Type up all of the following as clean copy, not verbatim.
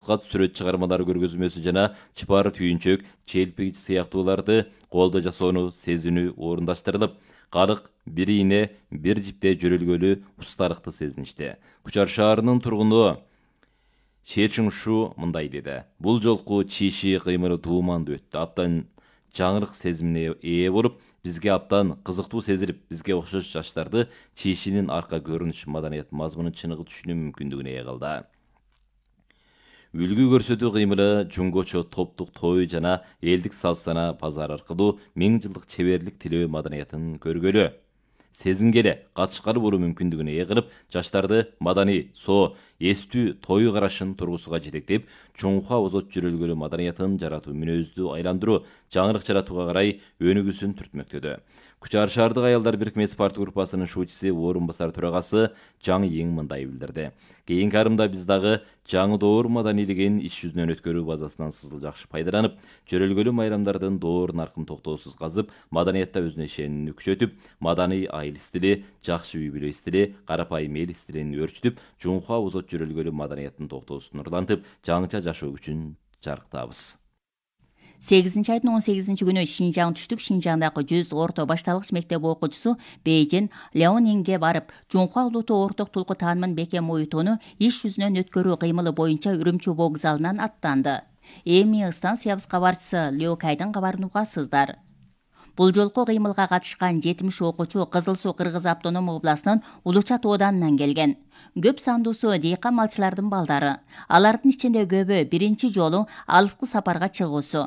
сүрөт чыгармалар көргөзмөсү жана чыпар түйүнчөк, челпигич сыяктууларды колдо жасоону сезинүү орундаштырылып, калк бир ийне, бир жипте жөрөлгөлү усталыкты сезиништи. Кучар шаарынын тургуну Шечиңшу мындай деди. Бул жолку чиши кыймылы туумандуу өттү. Абдан жаңырык сезимине ээ болуп, бизге абдан кызыктуу сезилип, бизге окшош жаштарды чишинин арка көрүнүш маданият мазмунун чыныгы түшүнүү мүмкүндүгүнө ээ кылды. Үлгү көрсөтүү кыймылы жуңгочо топтук той жана элдик салт-сана базар аркылуу 1000 жылдык чеберлик тилөө маданиятын көргөлү, сезингеле, катышкалы болуу мүмкүндүгүнө ээ кылып, жаштарды маданий, эстүү той карашын тургусуга жетектеп, Чоңхуа озот жөрөлгөлү маданиятын жаратуу, мүнөздү айландыруу, жаңырык жаратууга карай өнүгүүсүн түртмөктөдү. Кучар шаардык аялдар бирикмеси спорт группасынын шуучусу, орун басар төрагасы Жаңы Ең мындай билдирди. Кийинки арымда биз дагы жаңы доор маданийлигин иш жүзүнөн өткөрүү базасынан сызыл жакшы пайдаланып, жөрөлгөлү майрамдардын доор наркын токтоосуз казып, маданиятта өзүнө ишенимди күчөтүп, маданий айыл стили, жакшы үй бүлө стили, карапайым эл стилин өөрчүтүп, Чоңхуа озот жөрөлгөлү маданияттын токтоосун нурлантып, жаңыча жашоо күчүн жарыктабыз. 8-айдын 18-күнү Шинжаң түштүк Шинжаңдагы 100 орто башталгыч мектеп окуучусу Бейжин Леонинге барып, Чоңхуа улуттук орток тулку таанымын бекем уютууну иш жүзүнөн өткөрүү кыймылы боюнча Үрүмчү вокзалынан аттанды. Эми станциябыз кабарчысы Леокайдын кабарын угасыздар. Бул жолку кыймылга катышкан 70 окуучу Кызыл Суу Кыргыз автоном областынын Улуча тооданынан келген. Көп сандуусу дейкан малчылардын балдары. Алардын ичинде көбү биринчи жолу алыскы сапарга чыгуусу.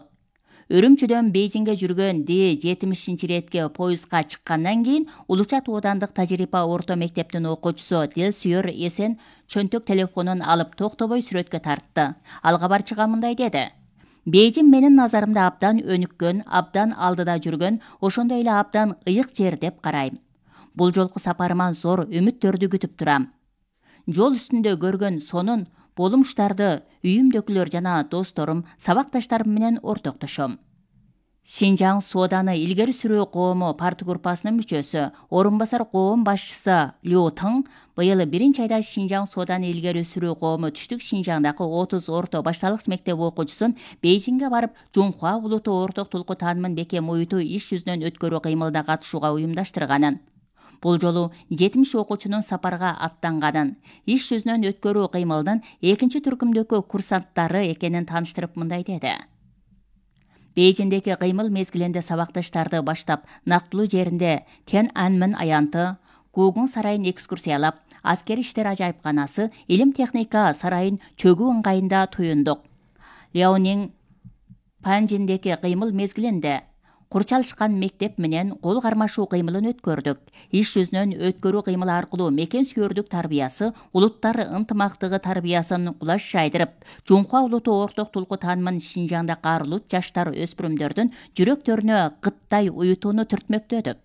Үрүмчүдөн Бейжиңге жүргөн Д-70 иретке поездга чыккандан кийин Улуча тоодандык тажрыйба орто мектептин окуучусу Дилсүйөр Эсен чөнтөк телефонун алып токтобой сүрөткө тартты. Ал кабарчыга мындай деди. Бейжиң менин назарымда абдан өнүккөн, абдан алдыда жүргөн, ошондой эле абдан ыйык жер деп карайм. Бул жолку сапарыма зор үмүттөрдү күтүп турам. Жол үстүндө көргөн сонун болумуштарды үйүмдөгүлөр жана досторум, сабакташтарым менен ортоктошом. Шинжаң сооданы илгери сүрүү коому парты группасынын мүчөсү, орун басар коом башчысы Лю Тың быйыл 1-айда Шинжаң сооданы илгери сүрүү коому түштүк Шинжаңдагы 30 орто башталгыч мектеп окуучусун Бейжиңге барып, Чоңхуа улуттук орток тулку таанымын бекем уютуу иш жүзүнөн өткөрүү кыймылына катышууга уюмдаштырганын. Бул жолу 70 окуучунун сапарга аттанганын, иш жүзүнөн өткөрүү кыймылынын экинчи түркүмдөгү курсанттары экенин тааныштырып мындай деди. Бейжиңдеги кыймыл мезгилинде сабакташтарды баштап, нактылуу жеринде Тяньаньмэнь аянты, Гугун сарайын экскурсиялап, аскери иштер ажайыпканасы, илим техника сарайын чөгүү ыңгайында туюндук. Леонин Панжиндеги кыймыл мезгилинде курчалышкан мектеп менен кол кармашуу кыймылын өткөрдүк. Иш жүзүнөн өткөрүү кыймылы аркылуу мекен сүйөрдүк тарбиясы, улуттар ынтымактыгы тарбиясын кулаш жайдырып, Чоңхуа улуттук орток тулку таанымын Шинжаңда каарылуу жаштар өспүрүмдөрдүн жүрөктөрүнө кыттай уютууну түртмөктөдүк.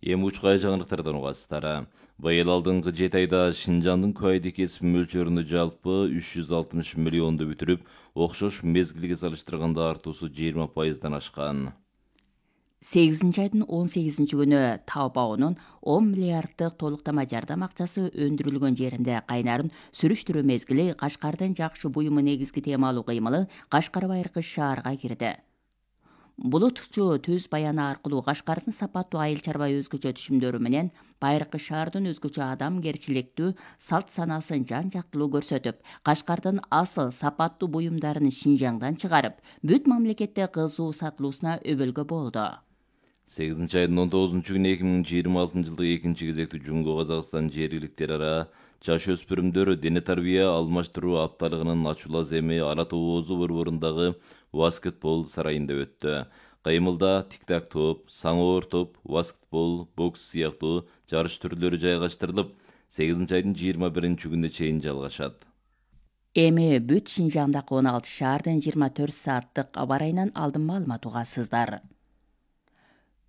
Эми учкай жаңырыктардан угасыздар. Быйыл алдыңкы 7 айда Шинжаңдын куайды кесип мөлчөрүндө жалпы 360 миллионду бүтүрүп, окшош мезгилге салыштырганда артуусу 20%дан ашкан. 8-айдын 18-күнү Таобаонун 10 миллиарддык толуктама жардам акчасы өндүрүлгөн жеринде кайнарын сүрүштүрүү мезгили Кашкардын жакшы буюму негизги темалуу кыймылы Кашкар байыркы шаарга кирди. Булутчу түз баяны аркылуу Кашкардын сапаттуу айыл чарба өзгөчө түшүмдөрү менен байыркы шаардын өзгөчө адамгерчиликтүү салт санасын жан-жактылуу көрсөтүп, Кашкардын асыл сапаттуу буюмдарын Шинжаңдан чыгарып, бүт мамлекетте кызуу сатылуусуна өбөлгө болду. 8-айдын 19-күнү 2026 жылдык экинчи кезектүү Жумго Казакстан жергиликтер ара жаш өспүрүмдөр дене тарбия алмаштыруу апталыгынын ачуу аземи Ала Тоо Оозу борборундагы баскетбол сарайында өттү. Кыймылда тик-так топ, саңоор топ, баскетбол, бокс сыяктуу жарыш түрлөрү жайгаштырылып, 8-айдын 21-күнүнө чейин жалгашат. Эми бүт Шинжаңдагы 16 шаардын 24 сааттык аба ырайынан алдын маалымат угасыздар.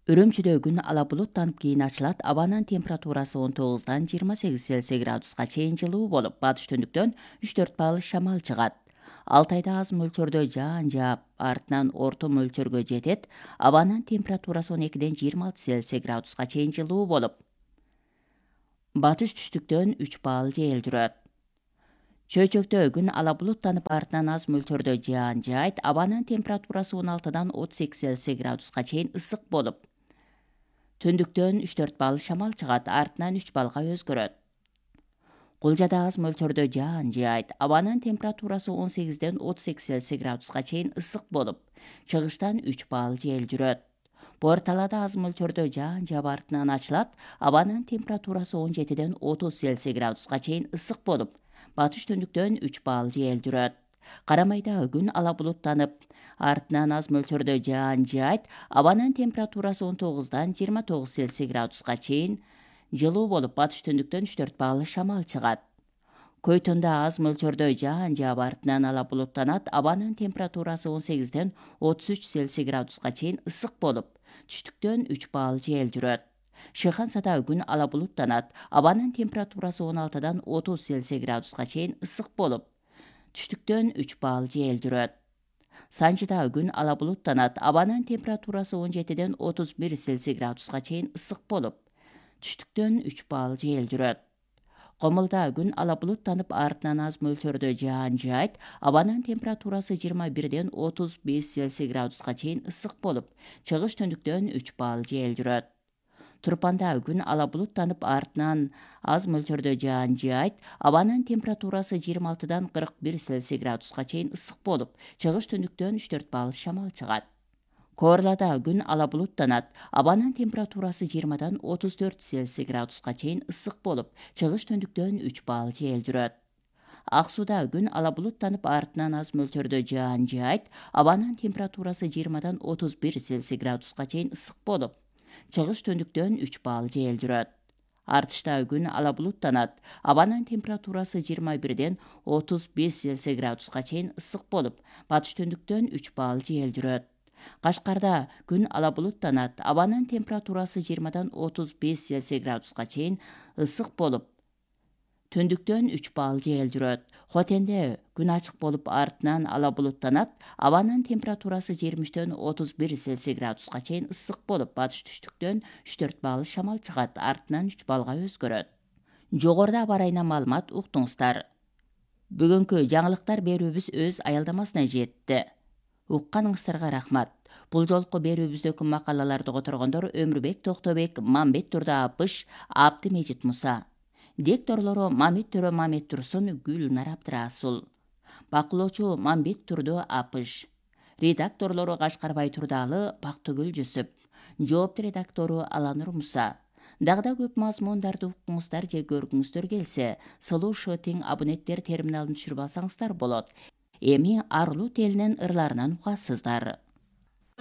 Үрүмчүдө күн ала булуттанып кийин ачылат. Абанын температурасы 19-дан 28 Цельсий градуска чейин жылуу болуп, батыш түндүктөн 3-4 балл шамал чыгат. Алтайда аз мөлчөрдө жаан жаап, артынан орто мөлчөргө жетет. Абанын температурасы 12-ден 26 Цельсий градуска чейин жылуу болуп, батыш түштүктөн 3 балл жел жүрөт. Чөйчөктө күн ала булуттанып артынан аз мөлчөрдө жаан жаайт. Абанын температурасы 16-дан 38 Цельсий градуска чейин ысык болуп, түндүктөн 3-4 балл шамал чыгат, артынан 3 баллга өзгөрөт. Кулжада аз мөлчөрдө жаан жаайт. Абанын температурасы 18-ден 38 Цельсий градуска чейин ысык болуп, чыгыштан 3 балл жел жүрөт. Бор талаада аз мөлчөрдө жаан жаап артынан ачылат. Абанын температурасы 17-ден 30 Цельсий градуска чейин ысык болуп, батыш түндүктөн 3 балл жел жүрөт. Карамайда күн ала булуттанып, артынан аз мөлчөрдө жаан жаайт. Абанын температурасы 19-дан 29 Цельсий градуска чейин жылуу болуп, батыш түндүктөн 3-4 балл шамал чыгат. Көйтөндө аз мөлчөрдө жаан жаап артынан ала булуттанат. Абанын температурасы 18-ден 33 Цельсий градуска чейин ысык болуп, түштүктөн 3 балл жел жүрөт. Шыхансада күн ала булуттанат. Абанын температурасы 16-дан 30 Цельсий градуска чейин ысык болуп, түштүктөн 3 балл жел жүрөт. Санжыда күн ала булуттанат. Абанын температурасы 17-ден 31 Цельсий градуска чейин ысык болуп, түштүктөн 3 балл жел жүрөт. Комулда күн ала булуттанып, артынан аз мөлчөрдө жаан жаайт. Абанын температурасы 21-ден 35 Цельсий градуска чейин ысык болуп, чыгыш түндүктөн 3 балл жел жүрөт. Турпанда күн ала булуттанып, артынан аз мөлчөрдө жаан жаайт. Абанын температурасы 26-дан 41 Цельсий градуска чейин ысык болуп, чыгыш түндүктөн 3-4 балл шамал чыгат. Коорлада күн ала булуттанат. Абанын температурасы 20-дан 34 Цельсий градуска чейин ысык болуп, чыгыш түндүктөн 3 балл жел жүрөт. Ак сууда күн ала булуттанып, артынан аз мөлчөрдө жаан жаайт. Абанын температурасы 20-дан 31 Цельсий градуска чейин ысык болуп, чыгыш түндүктөн 3 балл жел жүрөт. Артышта күн ала булуттанат. Абанын температурасы 21-ден 35 Цельсий градуска чейин ысык болуп, батыш түндүктөн 3 балл жел жүрөт. Кашкарда күн ала булуттанат. Абанын температурасы 20-дан 35 Цельсий градуска чейин ысык болуп, түндүктөн 3 балл жел жүрөт. Хотенде күн ачык болуп, артынан ала булуттанат. Абанын температурасы 20-ден 31 Цельсий градуска чейин ысык болуп, батыш түштүктөн 3-4 балл шамал чыгат, артынан 3 баллга өзгөрөт. Жогоруда аба ырайынан маалымат уктуңуздар. Бүгүнкү жаңылыктар берүүбүз өз аялдамасына жетти. Укканыңыздарга рахмат. Бул жолку берүүбүздөгү макалаларды которгондор Өмүрбек Токтобек, Мамбет Турда Апыш, Абды Мejit Муса. Дикторлору Мамит Төрө Мамет Турсун, Гүлнар Абдрасул. Бакылоочу Мамбет Турду Апыш. Редакторлору Кашкарбай Турдалы, Бактыгүл Жүсүп. Жоопту редактору Аланур Муса. Дагы да көп мазмундарды уккуңуздар же көргүңүздөр келсе, Сылуу Шотинг абоненттер терминалын түшүрүп алсаңыздар болот. Эми Арлуу телинин ырларынан угасыздар.